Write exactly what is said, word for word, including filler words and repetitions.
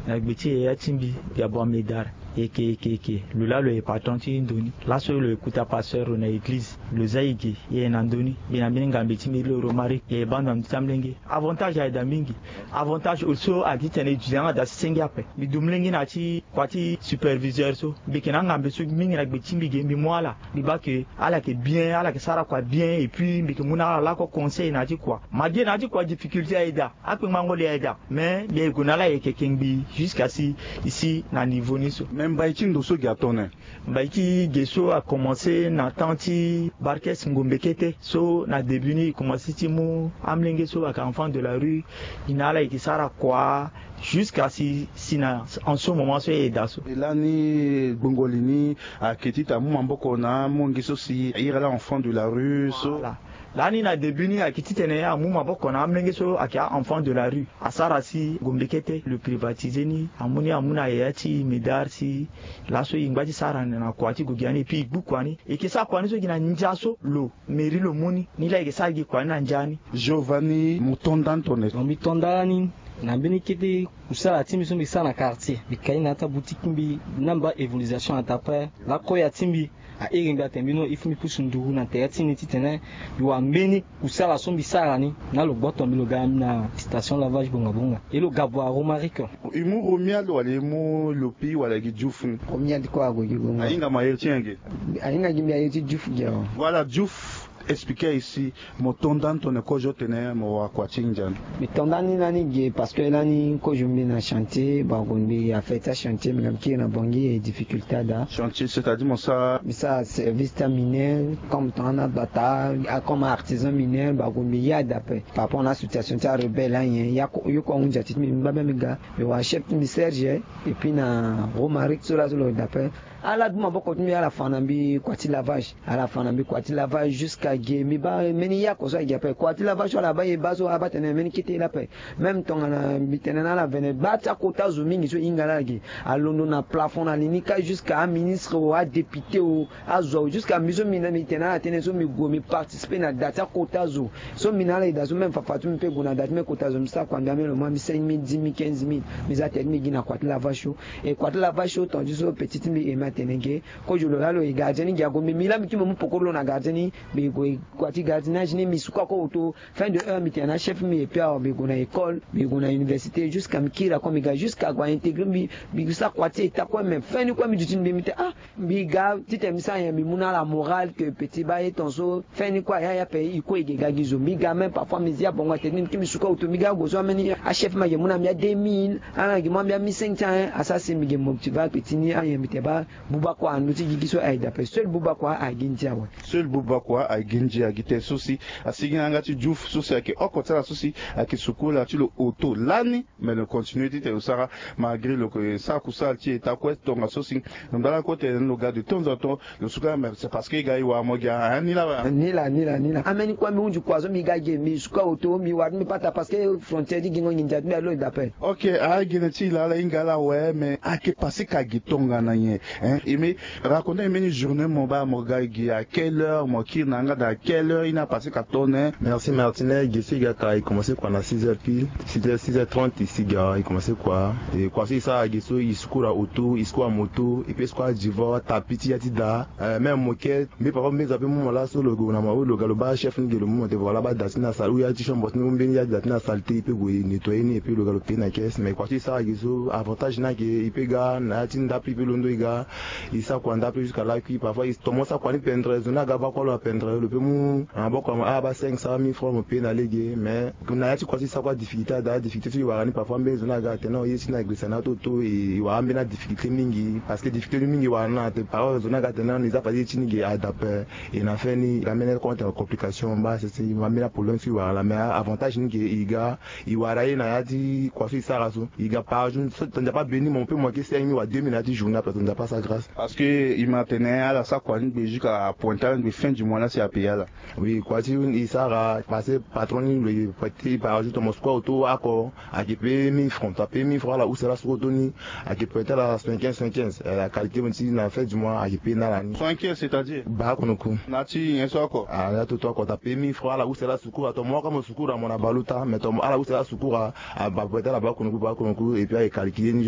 Na gbe ti yaya ti mbi, Gabon Medard. Eke eke eke, lo laa lo ye patron ti ndo ni. Laso lo ye kuta pasteur lo na eglize. Lo za e ge, e ye na ndo ni. Mbi na mbeni ngambe ti mbi lo Romaric, e ye bando na ndö ti amolenge. Avantage aye daa mingi. Avantage so ayeke titene e duti yanga daa si senge ape. Mbi du molenge na ya ti kua ti superviseur so. Mbi yeke na angambe so mingi na gbe ti mbi ge, mbi mu ala. Mbi baa ke ala yeke bien, ala yeke sara kua bien, et puis mbi yeke mu na ala lakue conseil na ya ti kua. Malgré na ya ti kua difficulté aye daa, akpengbango le aye daa. Mais mbi ye gue na ala yeke kengbi jusqu'à si e si na niveau ni so. Mais mbai ti ndo so gi atene? Mbai ti ge so akomanse na temps ti Barkes Ngombe Kete. So na début ni e komanse ti mu amolenge so ayeke enfant de la rue, e na ala yeke sara kua jusqu'à si, si na en ce moment so e daa so. E lani gbongo li ni ayeke ti tene amu maboko na amolenge so si a iri ala enfant de la rue so. Voilà. Lani na début ni ayeke titene amu maboko na amolenge so ayeke a-enfant de la rue. Asara si Ngombe Kete lo privatise ni, amu ni amu na yaya ti Medard si laso e ngba ti sara na kua ti gue gi ani, et puis e gbu kua ni. E yeke sara kua ni so gi na ndia so lo mairie lo mu ni, ni laa e yeke sara gi kua ni na ndia ni. Giovanni, mo to nda ni tone? Mo mbi to nda ni na mbeni kete kusala ti mbi so mbi sara na quartier. Mbi ka ye na ya ti aboutique ti mbi, na mba évolution na taa ape. Laa koya ti mbi a iri mbi atene mbi no il faut mbi pusu nduru na tere ti ni titene mbi wara mbeni kusala so mbi sara ni. Na lo gboto mbi lo ga na station lavage bonga bonga. E lo ga bua Romaric. E mu Romuald wala e mu Lopi wala gi Diouf ni? Romuald kue ague gi gongo. Ahinga mo aye ti nyen ge? Ahinga gi mbi aye ti Diouf ge awe. Voilà, Diouf, expliquer ici. Mo to nda ni tone kozo tene mo wara kua ti ndia ni? Mbi to nda ni lani ge parce que lani kozo mbi na chantier, bago mbi affaire ti achantier, mbi ga mbi kiri na Bangui, e difficulté adaa. Chantier, c'est-à-dire mo sara? Mbi sara service ti aminière, comme tongana bata, a, comme artisan minière, bago mbi ye adaa ape. Par rapport na association ti arebelle anyen, ya ko, yo ko ahunzi ati ti mbi, mbi baa mbi ga, mbi wara chef ti mbi Serge, et puis na Romaric so laa so lo daa ape. Ala du maboko ti mbi, ala fa na mbi kua ti lavage. Ala fa na mbi kua ti lavage jusqu'à ge. Mbi baa mbeni yako so ayeke ge ape. Kua ti lavage so ala baa e baa so, abaa tene mbeni kete lape. Même tongana mbi tene na ala vene, baa ti akota zo mingi so e hinga na ala ge. Alondo na plafond na li ni kâ jusqu'à aministre o, adéputé o, azo o, jusqu'à mbi so mbi na mbi tene na ala tënë so mbi gue mbi participer na da ti akota zo. So mbi na ala e daa so, même fafa ti mbi mpe gue na da ti mbi kota zo, mbi sara kua mbi ameni lo mu ambi cinq mille, dix mille, quinze mille. Mbi za tere ti mbi gi na kua ti lavage so. E kua ti lavage so, tongana ti so petit ti mbi Aimé atene ge, kozo lo laa lo e gardien ni gi ague, mbi mbi laa mbi kiri mbi mu pokoro lo na gardien ni. Mbi gue kua ti gardiennage ni, mbi suka kue oto. Fin de heure mbi tene na chef mbi, et puis awa mbi gue na école, mbi gue na université, jusqu'à mbi kiri akue mbi ga, jusqu'à ague a intégrer mbi. Mbi sara kua ti eta kue, mais fin ni kue mbi duti mbi mbi tene ah, mbi ga titene mbi sara nyen, mbi mu na ala morale que petit baa ye tongaso. Fin ni kue aya ape, e kue e ge ga gi zo. Mbi ga même parfois mbi zi abongo atene ni, mbi kiri mbi suka oto, mbi ga ague so ambeni achef mbi ayeke mu na mbi a deux mille, ala yeke mu ambi a mille cinq cents, hein. Asara si mbi ge motive ape ti ni, ayen mbi tene baa buba kua na ndö ti gigi so aye daa ape. Seul buba kua aye gi ndia awe. Seul buba kua aye gi ndia, gi tene so si asigi na yanga ti Diouf so si ayeke oko ti ala so si ayeke suku ala ti lo oto lani. Mais lo continue titene lo sara, malgré lo yeke sara kusala ti eta kue tongaso si. Lo ngba lakue tene lo ga de temps en temps lo suka, mais c'est parce que e ga e wara mo gi a, hein, ni laa awe. Ni laa, ni laa, ni laa. Ambeni kue mbi hunzi kua so mbi ga ge, mbi suka oto, mbi wara ti mbi pata parce que frontière ti gingo nginza ti mbi alo e daa ape. Ok, a gene ti e laa ala hinga ala awe, mais ayeke passé ka gi tongana nyen, hein? E me raconter mbeni journée mo baa mo ga gi à quelle heure, mo kiri na yanga daa à quelle heure, e na passé ka tone? Merci Martine. Ge so e ga ka e commencé kua na six heures pile, six heures, six heures trente e si ga e commencé kua. E kua so e sara ge so e suku na oto, e suku na moto, e pe suku na divan, tapis ti ya ti daa. Euh, même moquette, mbi papa mbi zo ape mu mo laso lo gue na mo, lo ga lo baa chef ni ge lo mu mo te, voilà, baa da ti ni na sale, ou ya ti chambre ti ni, ou mbeni ya ti da ti ni na sale te, e pe gue e nettoyer ni, e pe lo ga lo payer na caisse. Mais kua so e sara ge so, avantage ni ayeke e pe ga na ya ti ndape, e pe londo e ga. E sara kua ndape jusqu'à lakui. Parfois e tomo sara kua ni pendre, zo ni aga baa kue lo apendre, lo pe mu na maboko na mo, ah, baa cinq cents, mille francs mo payer na lege. Mais na ya ti kua so e sara kue, difficulté adaa. Difficulté so e wara ni, parfois mbeni zo ni aga atene non, ye ti ni agbesa na ato to, e wara ambeni adifficulté mingi, parce que difficulté ni mingi e wara na ate. Parfois zo ni aga atene non, e za fade ye ti ni ge adape. E na fin ni e ga mbeni compte complication, mba sese, e ma mbeni aproblème so e wara laa. Mais avantage ni ge e ga, e wara ye na ya ti kua so e sara so. E ga par jour so, Nzapa abeni mo, mo pe mo yeke cinq mille wala deux mille na ya ti journée, après Nzapa asara grâce. Parce que e ma tene ala sara kua ni gbe jusqu'à pointe ni gbe, fin du mois ni si a payer ala. Oui, kua ti e sara parce que patron ni lo ye prêter par jour, tongana mo suku aoto oko, ayeke payer mille francs. Tongana payer mille francs, ala use ala suku aoto ni, ayeke prêter ala soixante-quinze, soixante-quinze. Eh, la qualité mo ti na fin du mois ayeke payer na ala ni. Soixante-quinze, c'est-à-dire? Baa konoku. Na ti nyen so oko? Ah, na ya ti aoto oko, tongana payer mille francs, ala use ala suku, tongana mo oko mo suku na mo na bale ota, mais tongana ala use ala suku, ah, ba prêter ala baa konoku, baa konoku, et puis ayeke calculer ni.